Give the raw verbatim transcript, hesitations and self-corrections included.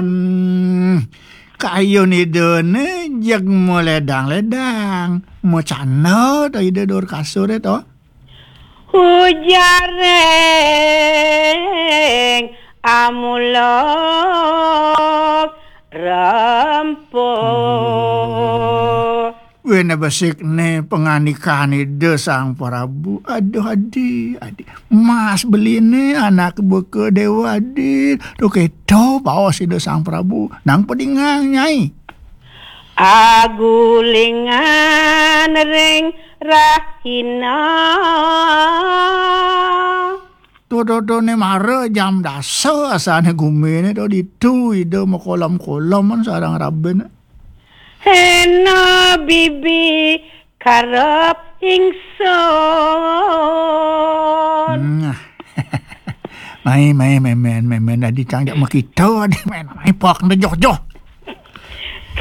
Hmm, kayun Ida né jeg maledang-ledang. Macana to Ida dur kasur to? Ujar ring Amulok Rempo. Wéné besik né pangandikan Ida Sang Prabu. Aduh, adi, adi. Mas beliné anak beka Déwa Adi. To kéto baos Ida Sang Prabu. Nang padingang, Nyai. Agulingan ring rahina. To, to, to, né mara jam dasa asané guminé to ditu Ida makolom-koloman sareng rabiné. Héna bibi karep ingsun. Hmm. Mai, mai, mémén, mémén, adi cang jak makita, adi mén, mai pok, ento joh, joh.